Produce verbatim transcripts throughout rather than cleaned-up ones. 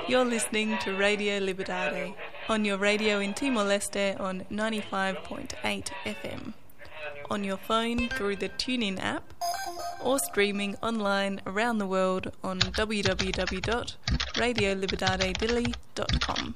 You're listening to Radio Liberdade on your radio in Timor-Leste on ninety-five point eight F M, on your phone through the TuneIn app, or streaming online around the world on w w w dot radio liberdade dili dot com.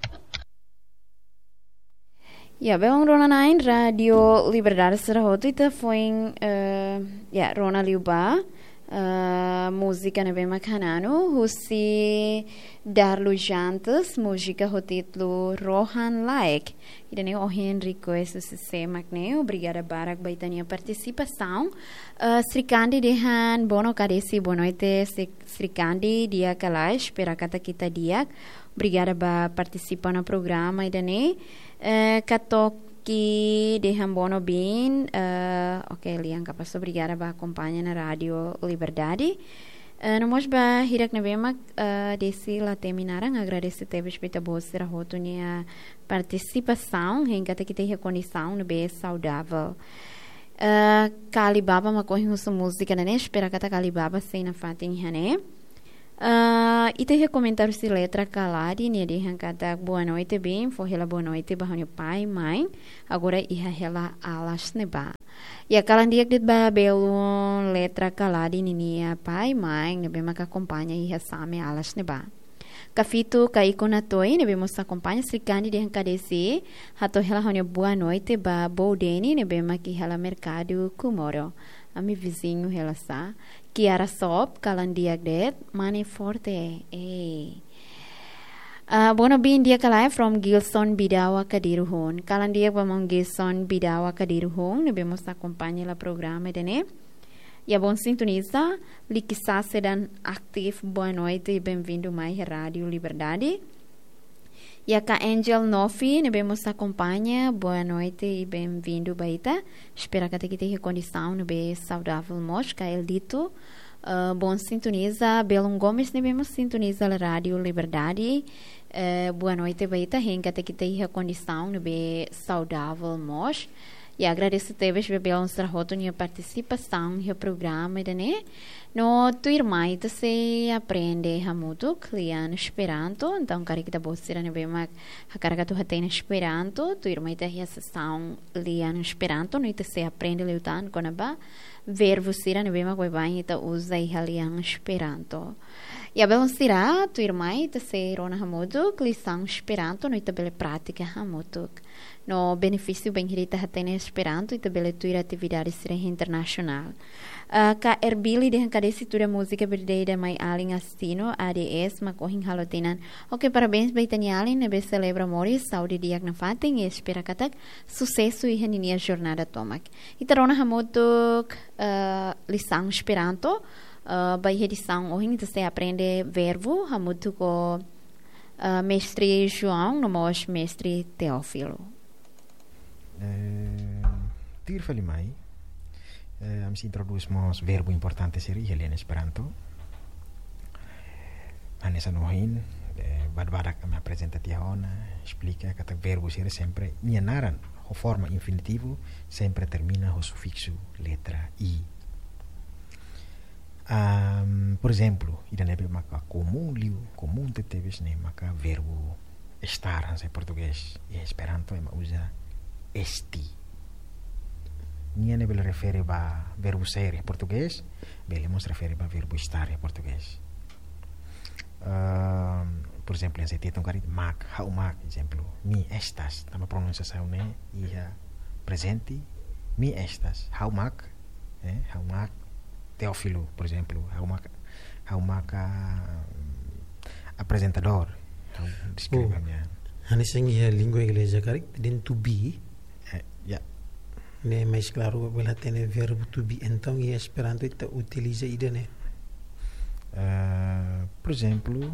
Ya, belun rona-na'in, Radio Liberdade sira hotu ita foin, eh, ya, rona liu ba, eh, múzika ne'ebé mak hananu, husi Darlu Jantes, múzika ho títulu Rohan Laek. Ida-ne'e ohin request husi sé mak ne'e, obrigada barak ba ita-nia partisipasaun. Eh, Srikandi dehan boa no-, ka desi boa noite, Sri-, Srikandi, di'ak ka lae, espera katak ita di'ak. Obrigada ba partisipa ona programa ida-ne'e. Eh, Katoki dehan boa no-, bin, eh, oke, lian kapás, obrigada ba akompaña ona Rádio Liberdade. Eh, no mós ba hirak ne'ebé mak, eh, desi la temi naran, agradese tebes ba ita-boot sira hotu nia partisipasaun, hein katak ita iha kondisaun ne'ebé saudavel. Eh, Kali Baba mak ohin husu múzika ne'e, espera katak Kali Baba sei nafatin iha ne'e. Eh, ita iha komentáriu husi Letra Kaladi, nia dehan katak boa noite, bin, fó hela boa noite ba ha'u-nia pai, mãe, agora iha hela alas ne'ebá. Ya, kalan di'ak de'it ba belun Letra Kaladi ninia pai, mãe, ne'ebé maka akompaña iha Same alas ne'ebá. Kafito Kaiko Natoi, ne'ebé mós akompaña, Srikandi dehan ka desi, hato'o hela ha'u-nia boa noite ba Boudeni, ne'ebé mak iha hela merkadu Kumoro. Ami viziñu hela sá. Kiara Sop, kalan di'ak de'it, mane forte. Ei. Ah, boa noite, bin, di'ak ka lae, from Gilson Bidawa Kadiru Hun. Kalan di'ak ba maun Gilson Bidawa Kadiru Hun, ne'ebé mós akompaña hela programa ida-ne'e. Ya, bom sintoniza, Likisase dan aktif, boa noite, bem-vindo mai Rádio Liberdade. Ya, ka Angel Nofi, ne'ebé mós akompaña, boa noite i bem-vindo ba ita. Espera katak ita iha kondisaun ne'ebé saudavel mós, ka Eldito. Eh, bom sintoniza, Belun Gomes, ne'ebé mós sintoniza hela Rádio Liberdade. Eh, boa noite ba ita, hein katak ita iha kondisaun ne'ebé saudavel mós. Ya, agradese tebes ba belun sira hotu nia partisipasaun iha programa ida-ne'e. No tuirmai ita sei aprende hamutuk lian Esperanto. Entaun, karik ita-boot sira ne'ebé mak hakarak atu hatene Esperanto, tuirmai ita iha sesaun lian Esperanto, no ita sei aprende liután kona-ba verbu sira ne'ebé mak baibain ita uza iha lian Esperanto. Ya, belun sira, tuirmai ita sei rona hamutuk lisaun Esperanto, no ita bele pratika hamutuk. No benefísiu bainhira ita hatene Esperanto, ita bele tuir atividade sira internasionál. Ah, ka Erbili dehan ka desi tuda múzika berdeda mai alin Astino, A D S, mak ohin halo tinan. Oke, parabéns ba ita-nia alin ne'ebé selebra moris, saúde di'ak nafatin, i espera katak susesu iha ninia jornada tomak. Ita rona hamutuk, eh, lisaun Esperanto, eh, ba iha edisaun ohin ita sei aprende verbu, hamutuk ho, eh, Mestre João, no mós Mestre Teófilo. Eh, tuir fali mai, eh, ami sei introdús mós verbu importante sira iha lian Esperanto. Hanesan ohin, eh, badak-badak ami aprezenta tiha ona, esplika katak verbu sira sempre, nia naran, ho forma infinitivu, sempre termina ho sufiksu letra i. Am, por ezemplu, ida ne'ebé maka komún liu, komún tebetebes ne'e maka verbu estar, hanesan iha portugés, iha Esperanto ema uza esti. Nia ne'e bele refere ba verbu ser iha portugés, bele mós refere ba verbu estar iha portugés. Am, por ezemplu, hanesan ita hetan karik mak, ha'u mak, ezemplu, mi estas, tanba pronunsiasaun ne'e iha prezente, mi estas, ha'u mak, eh, ha'u mak Teófilo, por ezemplu, ha'u mak, ha'u mak, ah, aprezentadór, ha'u deskreve Oh. ami-nia. Hanesan iha língua ingleza karik, dehan to be. Eh, ya. Ne'e mais klaru, bele hatene verbu to be. Entaun, iha Esperanto ita utiliza ida-ne'e. Eh, por ezemplu,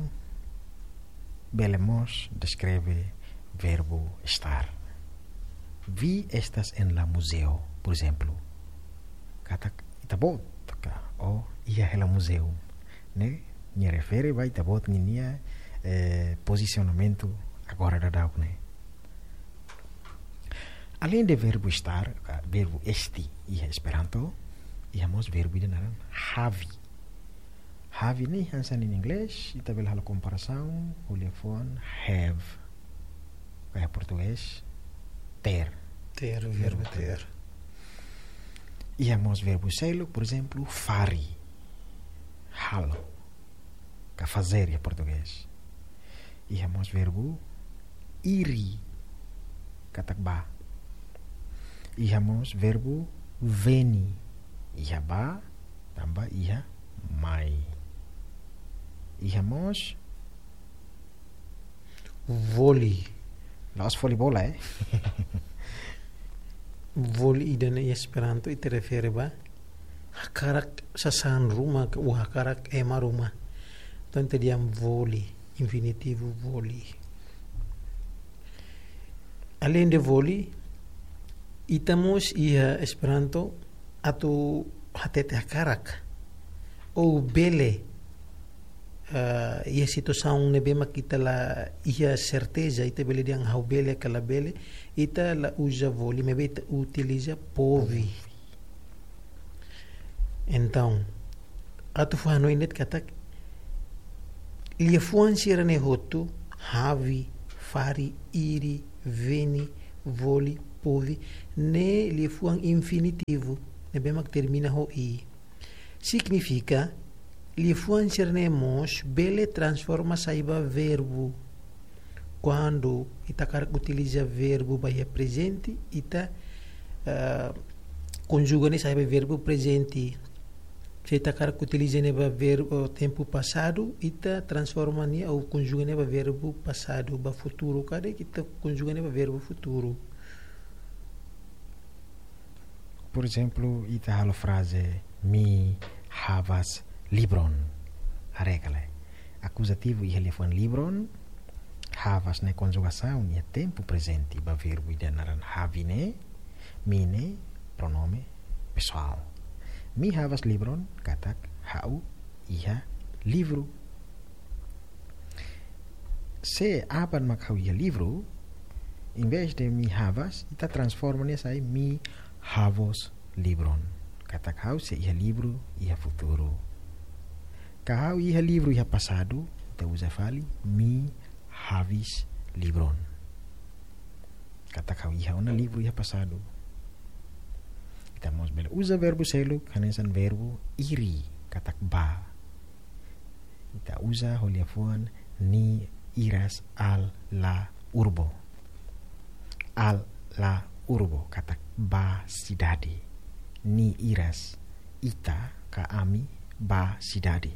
bele mós deskreve verbu estar. Vi estas en la muzeo, por ezemplu. Katak ita-boot, ka, o, iha hela muzeu. Ne'e, nia refere ba ita-boot ninia, eh, pozisionamentu agora daudaun ne'e. Além de verbu estar, ka, verbu esti, iha Esperanto, iha mós verbu ida naran havi. Have ne'e hanesan iha inglés, ita bele halo komparasaun, ho liafuan have. Ka iha portugés, ter. Ter, verbu ter. Iha mós verbu seluk, por ezemplu, fari. Halo. Ka fazer iha portugés. Iha mós verbu iri. Katak bá. Iha mós verbu veni. Iha bá, tanba iha mai. Iha mós voli. La'ós voli bola, eh? Voli ida-ne'e iha Esperanto ita refere ba hakarak sasán ruma, ka hakarak ema ruma. Entaun ita dehan voli, infinitivu voli. Aleinde voli, ita mós iha Esperanto atu hatete hakarak. Ou bele, ah, iha situasaun ne'ebé mak ita la iha serteza, ita bele dehan ha'u bele ka labele, ita la uza voli, maibé ita utiliza pove. Entaun, atu fó hanoin de'it katak, liafuan sira-ne'e hotu, have, fari, iri, veni, voli, pove, ne'e liafuan infinitivu, ne'ebé mak termina ho i. Signifika, liafuan sira-ne'e mós bele transforma sai ba verbu. Kuandu ita hakarak utiliza verbu ba iha prezente, ita, eh, konjuga nia sai ba verbu prezente. Se ita hakarak utiliza nia ba verbu, tempu pasadu, ita transforma nia ou konjuga nia ba verbu pasadu, ba futuru karik ita konjuga nia ba verbu futuru. Por ezemplu, ita halo fraze mi havas libron. Haree ka lae. Akuzativu iha liafuan libron, havas ne'e konjugasaun iha tempu prezente ba verbu ida naran have ne'e, mi ne'e pronome pesoál. Mi havas libron, katak ha'u iha livru. Se aban mak ha'u iha livru, em vez de mi havas, ita transforma nia sai mi havos libron. Katak ha'u sei iha livru iha futuru. Ka ha'u iha livru iha pasadu, ita uza fali mi havis libron. Katak ha'u iha ona livru iha pasadu. Ita mós bele uza verbu seluk, hanesan verbu iri, katak bá. Ita uza ho liafuan ni iras al la urbo. Al la urbo, katak bá sidade. Ni iras, ita ka ami bá sidade.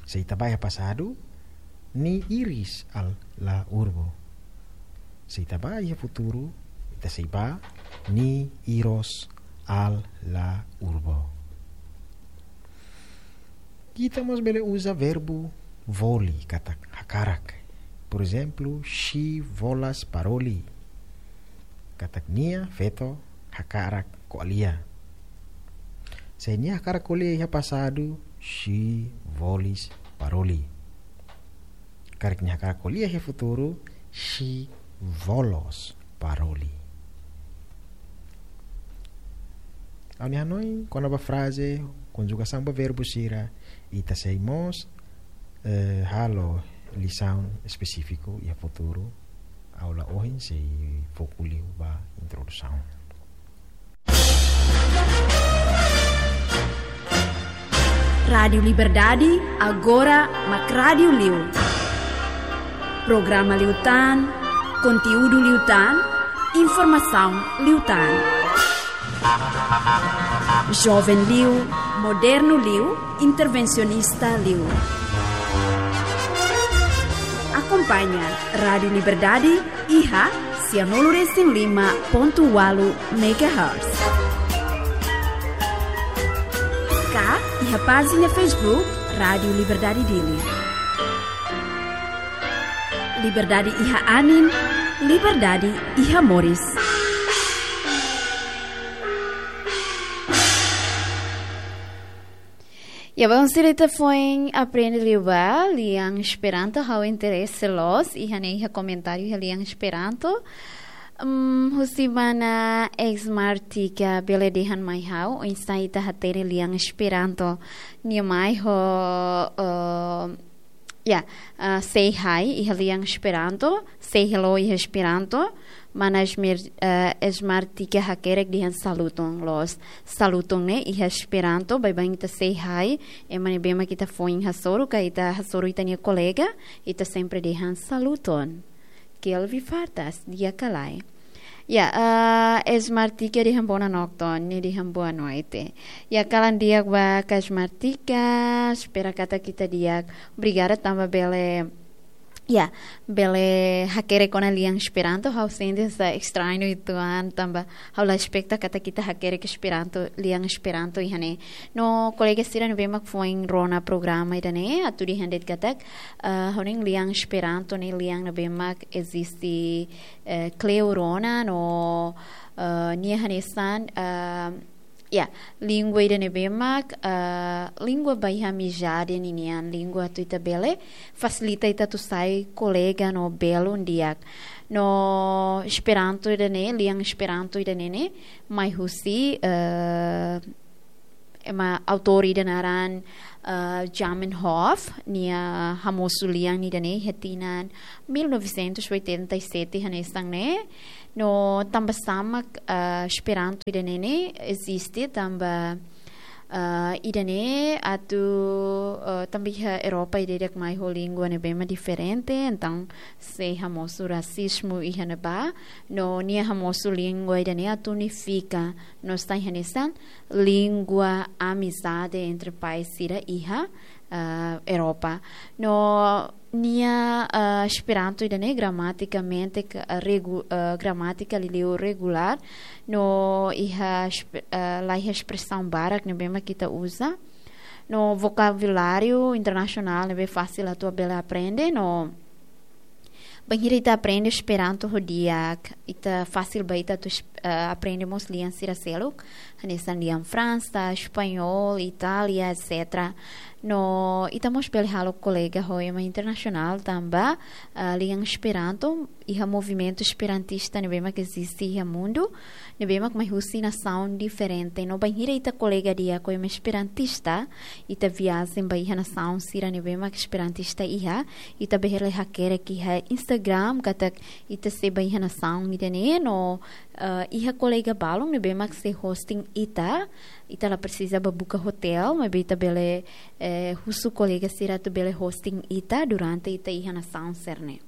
Se ita bá iha pasadu, ni iris al la urbo. Se ita bá iha futuru, ita sei bá, ni iros al la urbo. Ita mós bele uza verbu voli, katak hakarak. Por ezemplu, si volas paroli. Katak nia feto hakarak ko'alia. Se nia hakarak ko'alia iha pasadu, si volis paroli. Karik nia hakarak ko'alia iha futuru, si volos paroli. Ha'u-nia hanoin kona-ba fraze, konjugasaun ba verbu sira, ita sei mós, eh, halo lisaun espesífiku iha futuru, aula ohin sei foku liu ba introdusaun. Rádiu Liberdade, agora mak rádiu liu. Programa liután, konteúdu liután, informasaun liután. Joven liu, modernu liu, intervensionista liu. Akompaña Rádiu Liberdade iha sianulu resin lima pontu ualu megahertz. Ka iha pájina Facebook Rádiu Liberdade Dili. Liberdade iha anin, liberdade iha moris. Ya, bom, sira ita foin aprende liu ba lian Esperanto, ha'u interese loos iha ne'e iha komentáriu iha lian Esperanto. Hmm, husi mana Esmar Tika bele dehan mai ha'u, oinsá ita hatene lian Esperanto. Nia mai ho, eh, ya, eh, say hi iha lian Esperanto, say hello iha Esperanto. Mana Esmer-, eh, Esmar Tika hakerek dehan saluton loos. Saluton ne'e iha Esperanto, baibain ita say hi, ema ne'ebé mak ita foin hasoru, ka ita hasoru ita-nia kolega, ita sempre dehan saluton. Kelvi Fartas, di'ak ka lae? Ya, eh, Esmar Tika dehan bona nokton, nia dehan boa noite. Ya, kalan di'ak ba ka Esmar Tika, espera katak ita di'ak. Obrigada tanba bele, ya, bele hakerek ona lian Esperanto, ha'u sente sa estrañu uitoan, tanba ha'u la espeta katak ita hakerek Esperanto, lian Esperanto iha ne'e. No kolega sira ne'ebé mak foin rona programa ida-ne'e, atu dehan de'it katak, eh, ha'u-nia lian Esperanto ne'e lian ne'ebé mak eziste, eh, kleur ona no, eh, nia hanesan, eh, ya, língua ida ne'ebé mak, eh, língua ba iha amizade ninian, língua atu ita bele fasilita ita atu sai kolega no belun di'ak. No Esperanto ida-ne'e, lian Esperanto ida-ne'e ne'e, mai husi, eh, ema autór ida naran, eh, Zamenhof, nia hamosu lian ida-ne'e iha tinan mil novecentos e oitenta e sete hanesan ne'e. No tanba sá mak, eh, Esperanto ida-ne'e ne'e eziste tanba, eh, ida-ne'e atu, eh, tanba iha Europa ida-idak mai ho língua ne'ebé mak diferente, entaun sei hamosu rasizmu iha ne'ebá, no nia hamosu língua ida-ne'e atu unifika, no sai hanesan língua amizade entre país sira iha, ah, Europa. No nia, ah, Esperanto ida-ne'e gramatikamente ka-, regu-, ah, gramátika liuliu regulár, no iha esp-, ah, la iha espresaun barak ne'ebé mak ita uza. No vokabuláriu internasionál ne'ebé fasil atu bele aprende, no bainhira ita aprende Esperanto ho di'ak, ita fasil ba ita atu es-, eh, aprende mós lian sira seluk, hanesan lian Fransa, Espanhol, Itália, et cetera. No ita mós bele halo kolega ho ema internasionál tanba, eh, lian Esperanto iha movimentu esperantista ne'ebé mak eziste iha mundu, ne'ebé mak mai husi nasaun diferente. No bainhira ita kolega di'ak ho ema esperantista, ita viajen ba iha nasaun sira ne'ebé mak esperantista iha, ita bele hakerek iha Instagram katak ita sei ba iha nasaun ida-ne'e no, eh, iha kolega balun ne'ebé mak sei hosting ita, ita la presiza ba buka hotel, maibé ita bele, eh, husu kolega sira atu bele hosting ita durante ita iha nasaun sira-ne'e.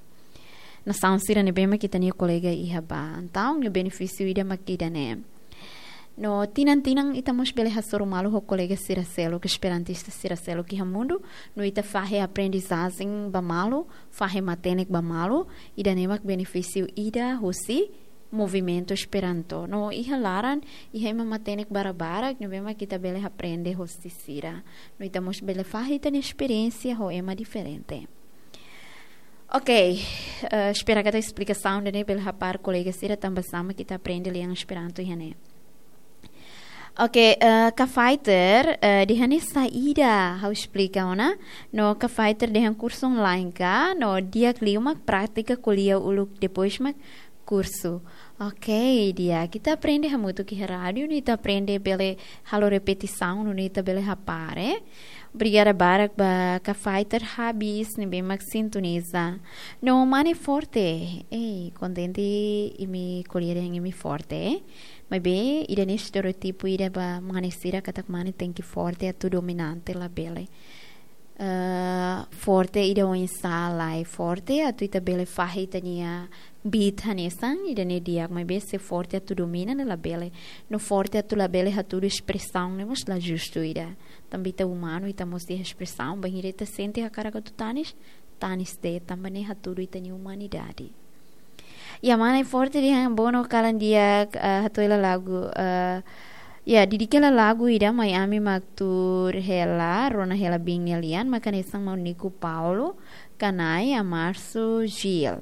Nasaun sira ne'ebé mak ita-nia kolega iha ba. Entaun, nia benefísiu ida mak ida-ne'e. No tinan-tinan ita mós bele hasoru malu ho kolega sira seluk, esperantista sira seluk iha mundu, no ita fahe aprendizajen ba malu, fahe matenek ba malu, ida-ne'e mak benefísiu ida husi movimentu Esperanto. No iha laran, iha ema matenek barbarak, ne'ebé mak ita bele aprende hosi sira. No ita mós bele fahe ita-nia esperiénsia ho ema diferente. Ok, eh, espera katak esplikasaun ida-ne'e bele hapar kolega sira tanba sá mak ita aprende lian Esperanto iha ne'e. Ok, eh, Ka Fighter, eh, dehan ne'e saida, ha'u esplika ona. No Ka Fighter dehan kursu online ka, no di'ak liu mak prátika ko'alia uluk depois mak kursu. Ok, di'ak, ita aprende hamutuk iha rádiu, no ita aprende bele halo repetisaun, no ita bele hapar. Obrigada barak ba Ka Fighter Habis, ne'ebé mak sintoniza. No mane forte. Ei, kontente imi ko'alia dehan imi forte. Maibé, ida-ne'e estereótipu ida ba mane sira katak mane tenke forte atu dominante, labele. Eh, forte ida oinsá lae, forte atu ita bele fahe ita-nia beat hanesan, ida-ne'e di'ak, maibé se forte atu domina ne'e labele. No forte atu labele hatudu espresaun ne'e mós la justu ida. Tanba ita umanu, ita mós iha espresaun, bainhira ita sente hakarak atu tanis, tanis de'it, tanba ne'e hatudu ita-nia umanidade. Ya, mane forte dehan bono kalan di'ak, eh, hato'o hela lagu, eh, ya, dedika hela lagu ida mai ami mak tuur hela, rona hela biin nia lian, mak hanesan maun Nico Paulo, Kanai, Amarso, Gil.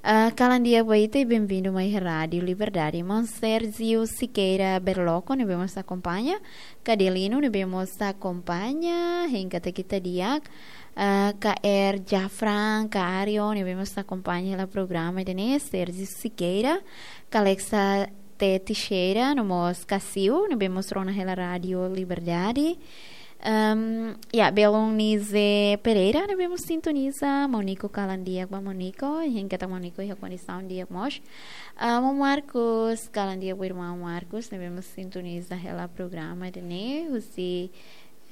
Ah, kalan di'ak ba ita, benvindu mai Rádiu Liberdade. Maun Sérgio Siqueira Berlocq, ne'ebé mós akompaña. Ka Adelino, ne'ebé mós akompaña. Hein katak ita di'ak. Ah, ka Er Jafran, ka Ario, ne'ebé mós akompaña hela programa ida-ne'e, Sérgio Siqueira, ka Alexa T Teixeira, no mós ka Siu, ne'ebé mós rona hela Rádiu Liberdade. Ehm, ya, belun Nize Pereira, ne'ebé mós sintoniza, Maun Nico, kalan di'ak ba Maun Nico, hein katak Maun Nico iha kondisaun di'ak mós. Ah, Maun Marcos, kalan di'ak ba irmaun Marcos, ne'ebé mós sintoniza hela programa ida-ne'e, husi,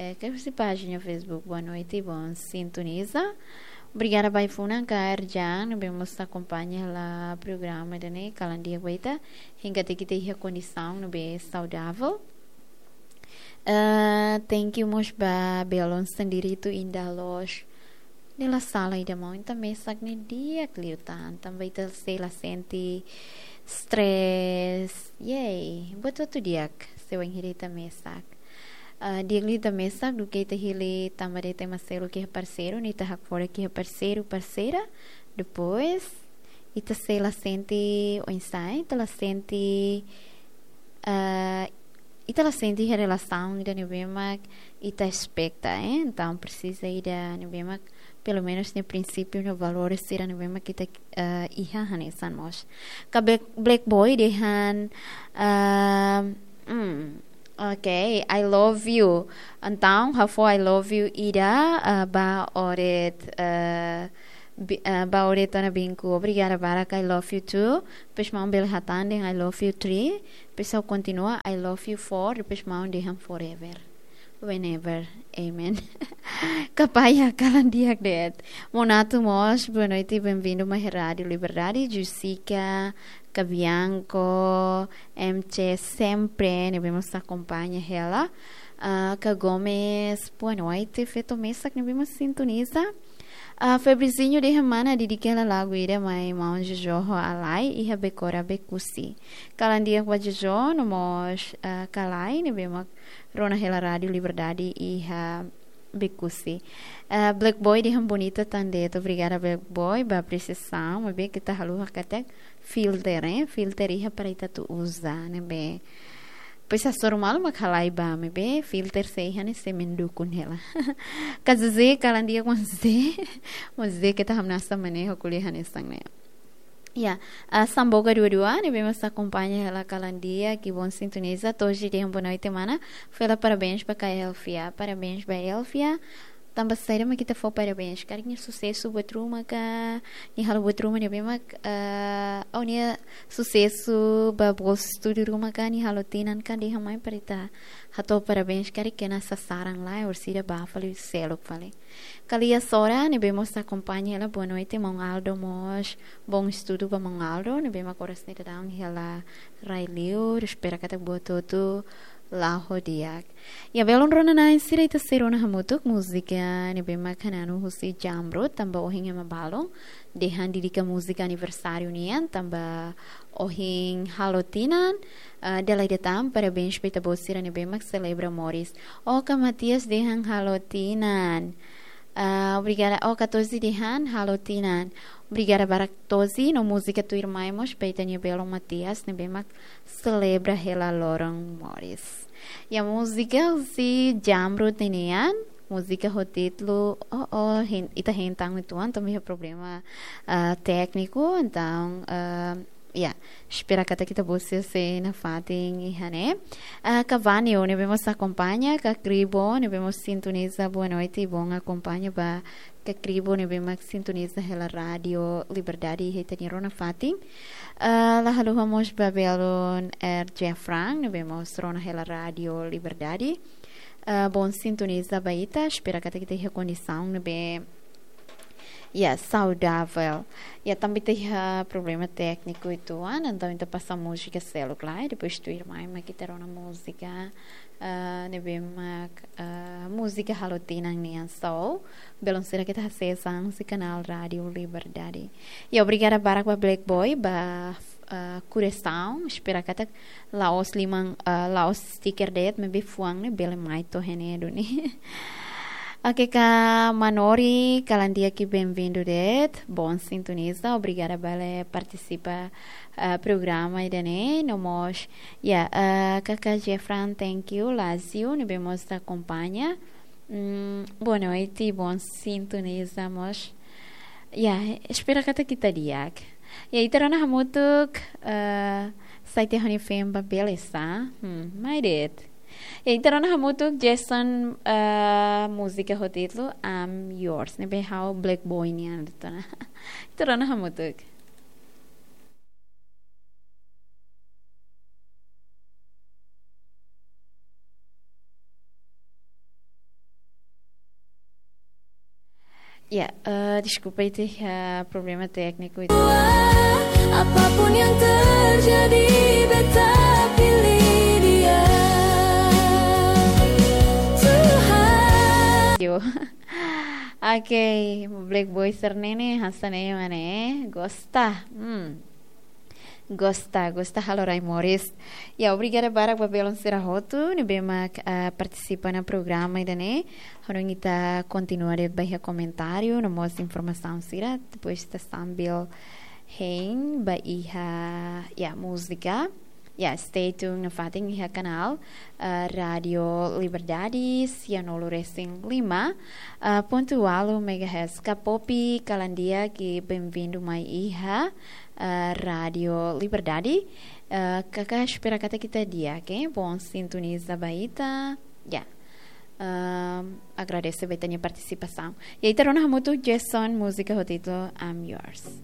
eh, ka husi pájina Facebook Boa Noite, Bom Sintoniza. Obrigada ba ai-funan ka Erjan, ne'ebé mós akompaña hela programa ida-ne'e, kalan di'ak ba ita, hein katak ita iha kondisaun ne'ebé saudavel. Eh, thank you mós ba belun Sendiritu Indah Loos. Ne'e la sala ida, maun, ita mesak ne'e di'ak liután, tanba ita sei la sente stress. Yay, buat hotu di'ak, se wainhira ita mesak. Ah, di'ak liu ita mesak, duké ita hili tanba de'it ema seluk iha parseiru, ne'e ita hakfodak iha parseiru, parseira. Depois, ita sei la sente oinsá, ita la sente, ah, ita la sente iha relasaun ida ne'ebé mak ita espeta, eh? Entaun presiza ida ne'ebé mak, pelumenus nia prinsípiu no valores sira ne'ebé mak ita, eh, iha hanesan mós. Ka Black, Black Boy dehan, ah, hmm, ok, I love you. Entaun, ha'u fó I love you ida, ah, ba Oret, ah, bi-, ah, ba Oret Ana Binku. Obrigada barak, I love you too. Depois maun bele hatán dehan I love you three. Depois ha'u kontinua, I love you four. Depois maun dehan forever. Whenever. Amen. Kapaya, kalan di'ak de'it. Maun Nato mós, boa noite, benvindu mai Rádiu Liberdade. Jessica, ka Bianco, M C sempre, ne'ebé mós akompaña hela. Ah, ka Gomes, boa noite, feto mesak ne'ebé mós sintoniza. Ah, Febrizinho dehan mana dedika hela lagu ida mai maun Jojo ho Alai iha Becora Becusse. Kalan di'ak ba Jojo, no mós, ah, ka Alai, ne'ebé mak rona hela Rádiu Liberdade iha Becusse. Ah, Black Boy dehan bonita tan de'it, obrigada Black Boy, ba apresiasaun, maibé ita haluha katak filter, eh? Filter iha para ita atu uza, ne'ebé. Pois hasoru malu mak halai ba, maibé filter sei iha ne'e sei mendukung hela. Ka José, kalan di'ak maun José. Maun José keta hamnasa maneho ko'alia hanesan ne'e. Ya, ah, Samboga dua dua, ne'ebé mós akompaña hela kalan di'ak, ki Bom Sintoniza, Toji dehan boa noite, mana. Fó hela parabéns ba ka Elfia, parabéns ba Elfia. Tanba saida mak ita fó parabéns? Karik nia susesu buat ruma ka, nia halo buat ruma ne'ebé mak, eh, ou nia susesu ba bolsu estudu ruma ka, nia halo tinan ka, dehan mai para ita hato'o parabéns, karik kena sasaran lae, orsida ba fali seluk fali. Ka Lia Sora, ne'ebé mós akompaña hela, boa noite, maun Aldo mós, bom estudu ba maun Aldo, ne'ebé mak oras ne'e daudaun hela rai liur, espera katak buat hotu la'o ho di'ak. Ya, belun rona-na'in sira, ita sei rona hamutuk múzika ne'ebé mak hananu husi Jamrud, tanba ohin ema balun dehan dedika múzika aniversáriu nian, tanba ohin halo tinan, ah, dala ida tan, parabéns ba ita-boot sira ne'ebé mak selebra moris. Oka Matias dehan halo tinan. Ah, obrigada, Oka Tozi dehan halo tinan. Obrigada barak Tozi, no múzika tuirmai mós ba ita-nia belun Matias, ne'ebé mak selebra hela loron moris. Ya, múzika husi Jamrud nian, múzika ho títulu, oh, oh, hein-, ita hein tan uitoan, tanba iha problema, ah, tékniku, entaun, ah, ya, espera katak ita-boot sira sei nafatin iha ne'e. Ah, ka Vanio, ne'ebé mós akompaña, ka Kribo, ne'ebé mós sintoniza, boa noite, bom akompaña ba ka Kribo ne'ebé mak sintoniza hela Rádiu Liberdade iha ita-nia rona fatin. Ah, la haluha mós ba belun Er Jefran, ne'ebé mós rona hela Rádiu Liberdade. Ah, bom sintoniza ba ita, espera katak ita iha kondisaun ne'ebé, ya, saudavel. Ya, tanba ita iha problema tékniku uitoan, entaun ita pasa múzika seluk lai, depois tuirmai mak ita rona múzika, ah, ne'ebé mak, ah, múzika halo tinan nian. So, belun sira, keta hasees an husi kanál Rádiu Liberdade. Ya, obrigada barak ba Black Boy, ba, ah, kuresaun, espera katak la'ós liman, ah, la'ós stiker de'it, maibé fuan ne'e bele mai to'o iha ne'e duni. Oke, kak Manori, kalan di'ak i benvindu de'it. Bon sintoniza, obrigada barak partisipa, eh, programa ida-ne'e. No mós, ya, eh, kaka Jefran, thank you. Lazio, ne'ebé mós akompaña. Mm, boa noite, bon sintoniza mós. Ya, espera katak ita di'ak. Ya, ita rona hamutuk, eh, site Honey Fame ba beleza. Hmm, mai de'it. Ya, ita rona hamutuk Jason, eh, múzika ho títulu I'm Yours. Ne'ebé ha'u Black Boy nian de'it ona. Ita rona hamutuk. Ya, eh, deskulpa, ita iha problema tékniku. Apapun yang terjadi, beta pilih dia. Tuhan. Yo. Oke, Black Boy sira-ne'e hanesan ne'e mak ne'e. Gosta. Hmm. Gosta, gosta halo rai moris. Ya, obrigada barak ba belun sira hotu ne'ebé mak, ah, partisipa ona programa ida-ne'e. Ha'u hanoin ita kontinua de'it ba iha komentáriu no mós informasaun sira, depois ita sambil hein ba iha, ya, múzika. Ya, stay tuned nafatin iha kanál, ah, Rádio Liberdade, sia nulu resin lima, ah, pontu ualu megahertz. Kak Popi, kalan di'ak i benvindu mai iha, ah, Rádio Liberdade. Ah, kaka espera katak ita di'ak, oke? Bon sintoniza ba ita. Ya. Ehm, agradese ba ita-nia partisipasaun. Ya, ita rona hamutuk Jason, múzika ho títulu I'm Yours.